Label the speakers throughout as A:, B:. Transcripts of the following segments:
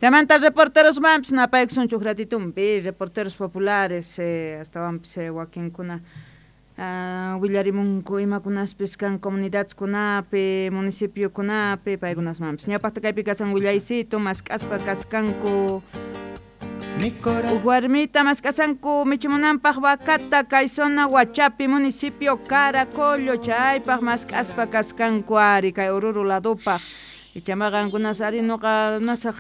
A: Chaymanta reporterosmanpis napaykusunchuk ratitumpi reporteros populares astawanpis wakinkuna willarimunku imakunaspis kan comunidadkunapi municipiokunapi paykunasmanpis ñawpaqta kaypi kasan willaycito mask'aspa kaskanku. Warmita mask'asanku michimunanpaq vacata kay zona Huachapi municipio Caracollo chaypaq mask'aspa kaskanku ari kay Oruro ladupaq. Ichama qankunas ari nuqa nasaq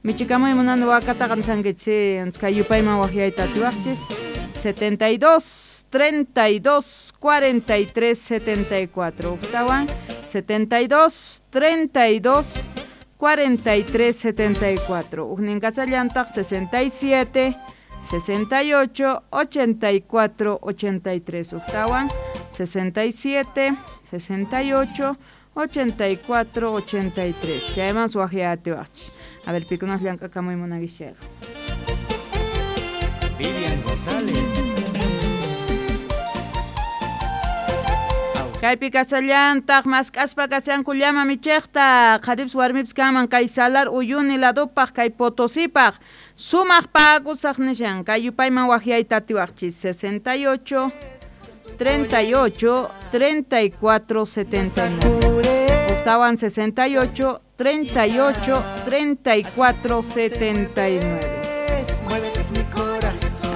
A: michikamuy munani wakataqa nisankichis kay yupayman waqyayta atiwaqchis 72 32 43 74 uktawan 72 32 43 74 ujnin kasallantaq 67 68 84 83 uktawan 67 68 84 83 chayman suwaqyatiwaqchis. A ver, pikunas llank'akamuy munankichayqa.
B: Vivian González.
A: Kaypi kasallantaq mask'aspa kashanku llama michiqta qharipis warmipis kanman kay Salar Uyuni ladupaq kay Potosipaq sumaq pagusaq nishan kay yupayman waqyayta atiwaqchis 68 38 34 79 Octawan 68 38 34 79.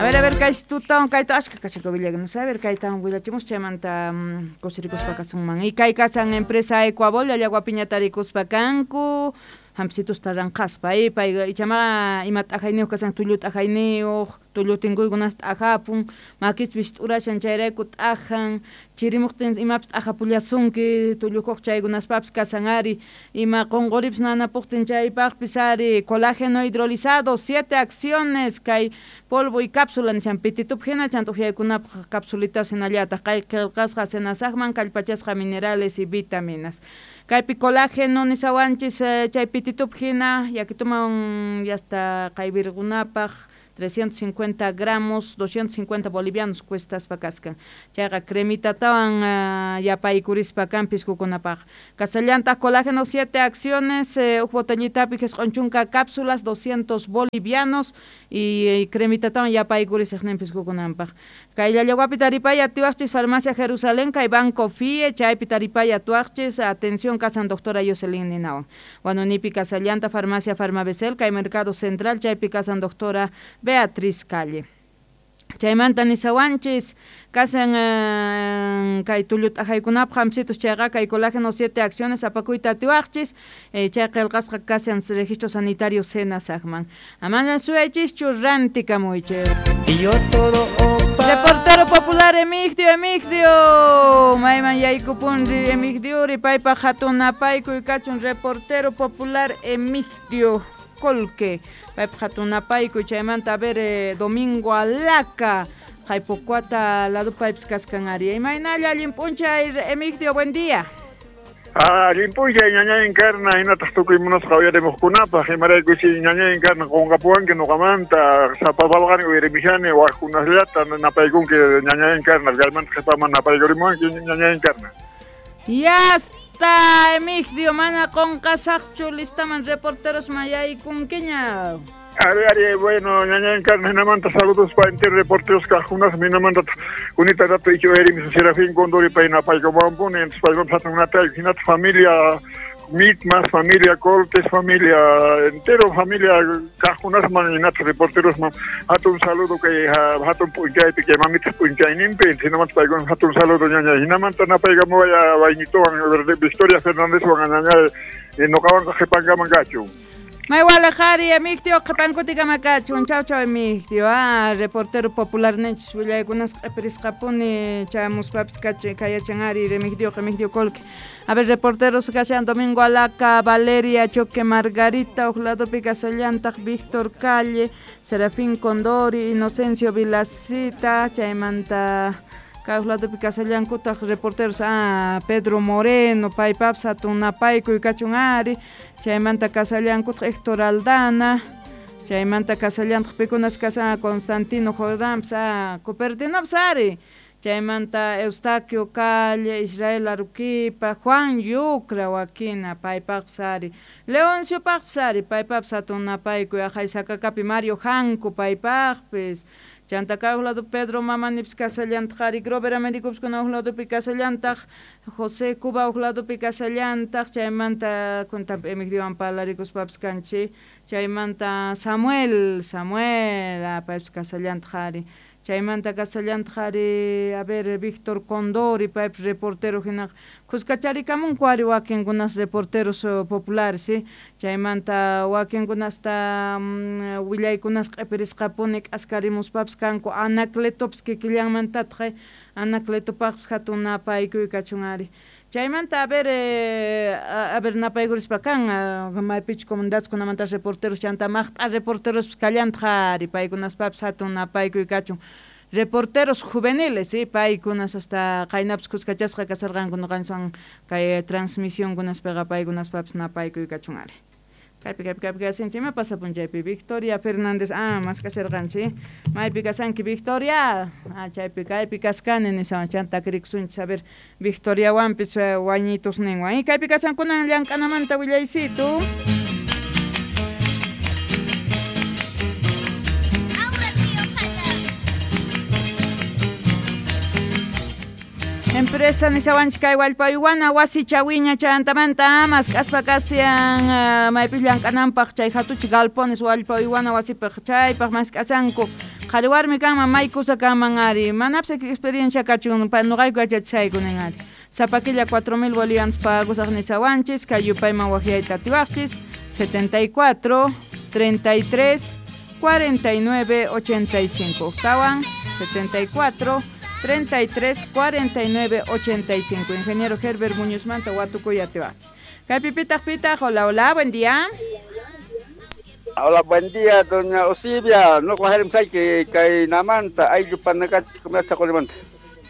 A: A ver, kay tutawan kayta ashka kachako villagnus. A ver, kaytawan willachimus chaymanta kusirikuspa kasunman. Y kay kasan empresa Ecuabol llallaguapiñata rikuspa kanku hampisitus taranqaspa pay ichama ima t'ajayniyuq kasan tullu t'ajayniyuq tullu tinkuykunas t'ajapun makispis t'urashan chayrayku t'ajan chirimuqtin imapis t'ajapullasunki tullukuq chaykunaspapis kasan ari ima qunquripis nanapuqtin chaypaqpis ari colágeno hidrolizado 7 acciones kay polvo y cápsula nishan pititup hina chanta uhyaykunapaq capsulitas hinallataq kay qillqasqa senasaqman kallpachasqa minerales y vitaminas. Kaypi colágeno nisawanchis chay pititup hina yakituman yasta qaywirqunapaq 350 gramos, 250 bolivianos cuestaspa kaskan. Chayqa cremitatawan yapaykurispa kan piskukunapaq. Kasallantaq colágeno 7 acciones, uj botellitapi jisq'un chunka cápsulas, 200 bolivianos y cremitatawan yapaykurisaq nin piskukunanpaq. Kay Llallaguapi taripay atiwaqchis Farmacia Jerusalén, kay Banco FIE, chaypi taripay atuaqchis, atención kasan doctora Jocelyn Ninawan. Huanunipi kasallanta Farmacia Farmabesel, kay Mercado Central, chaypi kasan doctora Beatriz Calle. Chaymanta nisawanchis kasan kay tullu t'ajaykunapaq hampisitus chayqa kay colágeno 7 acciones apakuyta atiwaqchis chay qillqasqa kasan registro sanitario senasaqman. Amana suyaychischu rantikamuychis.
B: Y yo todo
A: Reportero popular Emigdio, Emigdio, mayman yaykupunri Emigdiori, paypaq hatun napaykuy kachun reportero popular Emigdio Colque, paypaq hatun napaykuy chaymanta a ver Domingo Alaca, Jaipocuata lado paypis kaskan ari. Imaynalla allin p'unchay Emigdio, buen día.
C: Allin p'unchay ñañay Encarna hinataq tukuy munasqa uyarimuqkunapaq imaraykusi ñañay Encarna qunqapuwanki nuqamanta sapapalqani uyarimishani waqkunasllata napaykunki ñañay Encarna kaymanta qhipaman napaykurimuwanki ñañay Encarna.
A: Yasta Emigdio mana qunqasaqchu listaman reporteros mayaykunkiña.
C: Ari, bueno, ñañay Encarna hinamanta saludos pa entero reporteros kaqkunas minamanta unita rato ichu uyarimis Serafín Condori pay napaykumampuni entonces payman hatunata hinata familia Mitmas, familia Coltes, familia entero familia kaqkunasman hinata reporterosman hatun saludo kay hatun p'unchaypi kay mamita p'unchayninpi hinamanta paykuna hatun saludo ñañay hinamanta napaykamuwaya waynituwan Victoria Fernándezwan ñañay nuqawanqa qhipankaman kachun.
A: May walejari, Emigdio, qhipankuti kamakachun, chau chau Emigdio, reportero popular ninchis willaykunas q'ipirisqapuni chamuspapis kayachan ari Emigdio, Emigdio Colque. A ver, reporteros kashan Domingo Alaca, Valeria Choque Margarita, uj ladopi kasallantaq Víctor Calle, Serafín Condori, Inocencio Vilacita, chaymanta kay uj ladopi kasallankutaq reporteros Pedro Moreno, paypapis hatun napaykuy kachun ari, chaymanta kasallankutaq Héctor Aldana, chaymanta kasallantaq pikunas kasan Constantino Jordánpis, Cupertinopis ari, chaymanta Eustaquio Calle, Israel Aruquipa, Juan Yucra wakina paypaqpis ari. Leonciopaqpis ari paypapis hatun napaykuy aqhay Sakakapi Mario Janco paypaqpis chanta kay huk lado Pedro Mamanipis kasallantaq ari Grover Americopis kuna huk ladopi kasallantaq José Cuba huk ladopi kasallantaq chaymanta kuntanpi Emigdiowan parlarikuspapis kanchik chaymanta Samuel paypis kasallantaq ari chaymanta kasallantaq ari a ver Víctor Condori paypis reportero hinaqa kuskacharikamunku ari wakinkunas reporteros populares chaymanta wakinkunasta willaykunas q'ipirisqapuni k'askarimuspapis kanku Anacletopis kikillanmantataq Anacletopaqpis hatun napaykuy kachun ari chaymanta a ver napaykurispa kan maypichu comunidadeskunamanta reporteros chanta maqt'a reporterospis kallantaq ari paykunaspapis hatun napaykuy kachun reporteros juveniles, paykunas hasta qaynapis kuskachasqa kasarqanku ñuqanchikwan kay transmisionkunaspiqa paykunaspapis napaykuy kachun ari. Kaypi kasinchik ima pasapun chaypi Victoria Fernández mask'asharqanchik maypi kasanki Victoria chaypi kaypi kaskani nishawan chanta takirikusunchik a ver Victoriawanpis wañitusninwan kaypi kasankunan llank'anamanta willaysitu. Empresa nishawanchik kay wallpaywana wasi chawiña chantamanta mask'aspa kasian maypis llank'ananpaq chay hatuchi galpones wallpaywana wasipaq chaypaq mask'asanku qhari warmi kanman may kusa kanman ari manapis experiencia kachun ñuqayku yachachisayku nin ari sapa killa 4000 bolivianos pagusaq nishawanchis kay yupayman waqyayta atiwaqchis 74 33 49 85 tawan 74 33 49 85. Ingeniero Herbert Muñoz Manta, Huatucuya, Tehuachi. Kaypi pitaq pitaq, hola, hola, buen día.
D: Hola, buen día, doña Osibia. No que kay namanta, ayllu panakach kumachaqolimanta.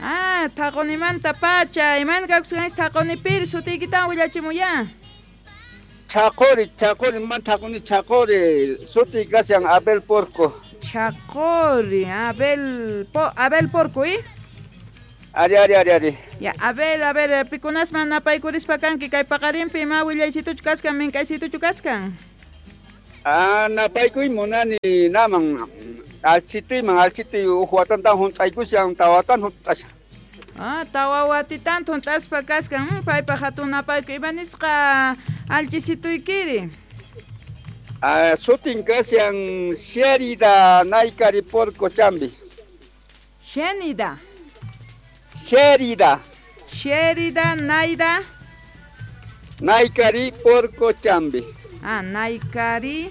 A: Ah, taqonimanta pacha, iman kakusqanchik taqonipiri sutiykitawan willachimuya.
D: Chaqori, chaqori, man taqoni chaqori, suti kashan Abel Porco.
A: Chaqori, Abel Porco, ¿eh?
D: Ari, ari, ari, ari.
A: Ya, a ver, pikunasman napaykurispa kanki kay paqarinpi ima willaysituchu kaskan, mink'aysituchu kaskan.
D: Ah, napaykuy munani naman alchituyman, alchituy uj watantan hunt'aykushan, tawatan hunt'ashan.
A: Ah, tawa watitan hunt'aspa kaskan, paypaq hatun napaykuy ima nisqa alchisituykiri.
D: Ah, sutin kashan Sherida Naikari Porco Chambi.
A: Shenida.
D: Sherida.
A: Sherida Naida.
D: Naikari Porco Chambi.
A: Ah, Naikari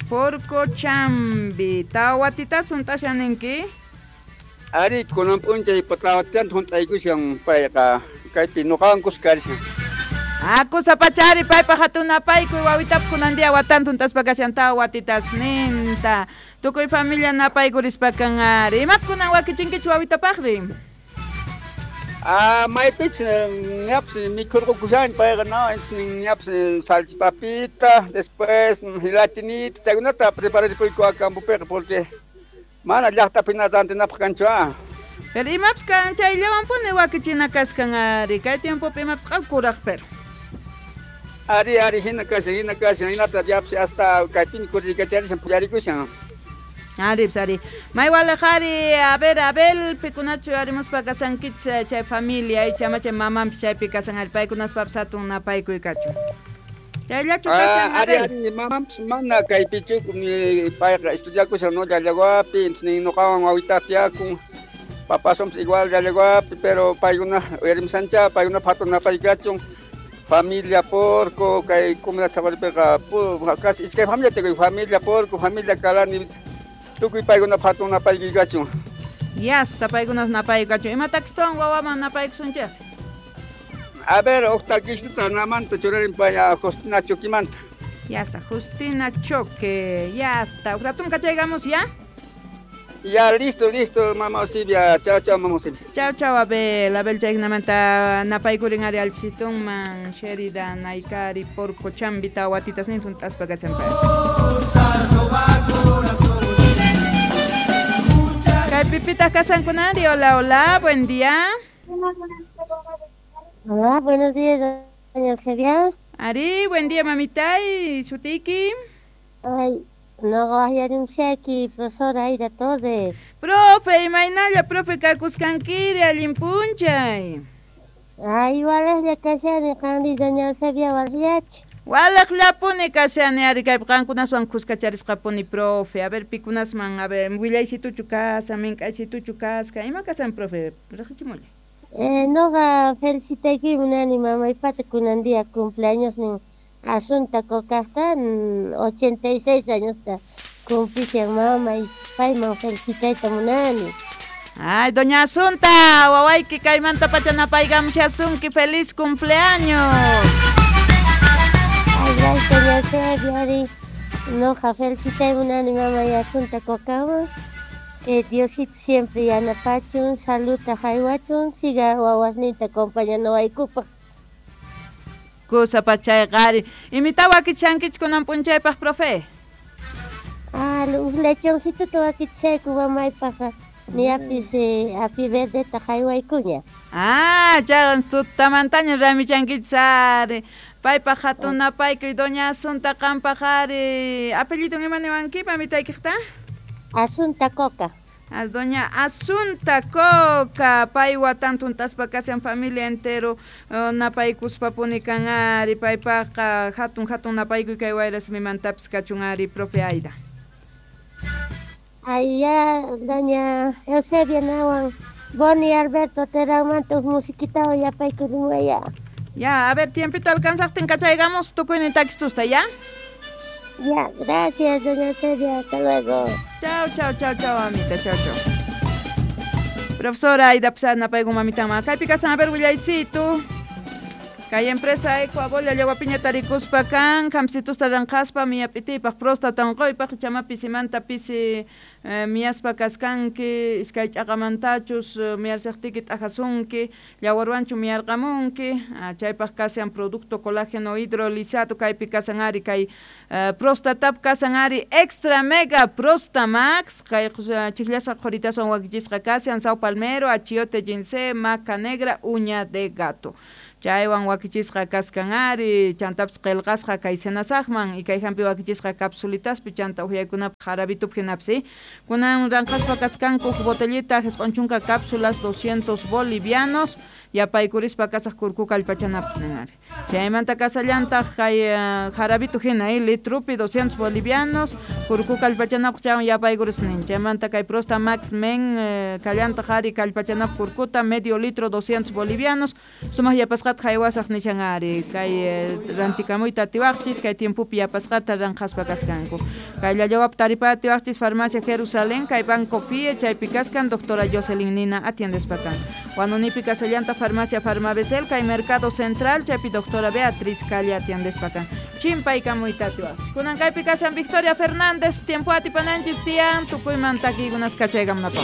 A: Porco Chambi. Tawatitas hunt'ashan ninki?
D: Ari, kunan p'unchay tawatitan hunt'aykushan payqa kaypi ñuqawan kuskarishan.
A: Ah, kusapachari paypaq hatun napaykuy wawitap kunan día watan hunt'aspa kashan tawatitas ninta. Tukuy familia napaykurispa kan ari. Imat kunan wakichinkichu wawitapaqri?
D: Ah, maypich ñapis mikhurqukushan payqa no, ñapis salchipapita, después gelatinita, chaykunata prepararipuyku campopiqa porque mana llaqtapina rantinapaq kanchu ah.
A: Pero imapis kan chayllawanpuni wakichina kaskan ari, kay tiempopi imapis q'alkuraq pero.
D: Ari, ari, hina kashan, hinata yapis hasta kaypini kuriykacharishan puyarikushan.
A: Ari, ari. May walajari, a ver, Abel, pikunachu arimuspa kasankich chay familia, icha chay mamanpis chaypi kasan ari, paykunaspapis hatun napaykuy kachun. Chayllachu kasan,
D: Ari, ari, mamanpis mana kaypichu payqa estudiakushan no llallawapi, entonces ñuqawan wawitapi yakun. Papasonpis igual llallawapi, pero paykuna uyarimusancha, paykuna hatun napaykuy kachun. Familia Porco, kay comunidad Chaguaripiqa, casi iskay familia tukuy, familia Porco, familia Calani, tukuy paykuna hatun napaykuy kachun.
A: Yasta paykunas napaykuy kachun. Ima takistawan wawaman napaykusunchik?
D: A ver, huk takisituta namanta churarin paya Justina Choquimanta.
A: Yasta, Justina Choque, yasta. Huk ratum kachaygamos ya?
D: Ya, listo, listo, mamá Osibia. Chao, chao, mamá Osibia.
A: Chao, chao, Abel. Abel chaynamanta napaykurin ari alchitunman, Sherida, Naikari, Porco, Chambi, tawatitas nin hunt'aspa kashanpay. Kay pipitaq kasankunari. Hola, hola, buen día.
E: Hola, buenos días. Doña Eusebia.
A: Ari, buen día, mamita. ¿Y Shutiki?
E: Ay, no aquí, profesora Aida Torres.
A: Profe, imaynalla, profe, kakusqankiri, allin p'unchay.
E: Ay, walaqlla kashani, qanri doña Eusebia walaqllachu.
A: Walaqllapuni kashani, ari kaypi qankunaswan kuskacharisqapuni, profe. A ver, pikunasman, a ver, willaysituchu kashan, mink'aysituchu kasqa, ima kashan, profe? Riqsichimullay.
E: Noqa felicitayki munani mamaypata kunan día cumpleaños nin Asunta Cocajta 86 añosta cumplishan mamay, payman felicitayta munani.
A: Ay, doña Asunta, wawayki kaymanta pacha napaykamushasunki, feliz cumpleaños.
E: Ay, gracias, doña Eusebia, ari. Noqa felicitay munani mamay Asunta Cocaman. Que Diosito siempre yanapachun, saluta haywachun, siga wawasninta acompañanawaykupaq.
A: Kusa pachayqa ari. Imita wakichankichik kunan p'unchaypaq, profe?
E: Ah, uj lechoncituta wakichayku mamaypaq, niyapis api verdeta haywaykuña.
A: Ah, chayqa tutamantaña ramichankichis ari. Paypaq hatun napaykuy, doña Asunta qampaq ari. Apellidun ima niwanki mamitaykiqta?
E: Asunta Coca.
A: A doña Asunta Coca, pay watan tuntaspa kashan familia entero napaykuspapuni kan ari, paypaqqa hatun hatun napaykuy kay wayrasimimantapis kachun ari, profe Aida.
E: Ay, ya, doña Eusebia nawan, Boni Alberto Terranmanta uj musiquitawan yapaykurinwaya.
A: Ya, a ver, tiempito alcanzaqtin kachaygamos tukuynin takistusta, ¿ya?
E: Ya, gracias, doña Eusebia, hasta luego.
A: Chao, chao, chao, chao, mamita, chao, chao. Profesora Aida Pizarro, napayku mamitanman. Kaypi kasan, a ver, willaysitu. Kay empresa Ecoabol llawapiña tarikuspa kan, hampsitusta ranqaspa miyap'itiypaq próstata unquypaq chama pisimanta pisi miyaspa kaskanki, iskay ch'aqamantachus miyarsiqtiki t'ajasunki, llawarwanchu miyarqamunki, chaypaq kashan producto colágeno hidrolizado kaypi kasan ari kay prostatap kasan ari extra mega prostamax, kay chijllasqa qhuritaswan wakichisqa kashan sao palmero, achiote ginseng, maca negra, uña de gato. Chaywan wakichisqa kaskan ari, chantapis qillqasqa kay senasaqman, y kay hampi wakichisqa capsulitaspi chanta uhyaykunapaq jarabitup hinapis. Kunan ranqaspa kaskanku huk botellita 90 cápsulas 200 bolivianos, yapaykurispa kasaq kurku kallpachanapaq nin ari. Chaymanta kasallantaq kay jarabitu hina, litrupi 200 bolivianos, kurku kallpachanapaq chaywan yapaykuris nin. Chaymanta kay Prosta Max Men kallantaq ari kallpachanapaq kurkuta medio litro 200 bolivianos, sumaq yapasqata haywasaq nishan ari, kay rantikamuyta atiwaqchis, kay tiempopi yapasqata ranqaspa kaskanku. Kay llallawap taripa atiwaqchis Farmacia Jerusalén, kay Banco Fie, chaypi kaskan doctora Jocelyn Nina atiendespa kan. Huanunipi kasallanta Farmacia Farmabesel, kay Mercado Central, chaypi doctora Beatriz Calle atiendespa kan. Chimpaykamuyta atiwaqchis. Kunan kaypi kasan Victoria Fernández, tiempo atipananchis tiyan, tukuyman takiykunas kachaykamunapaq.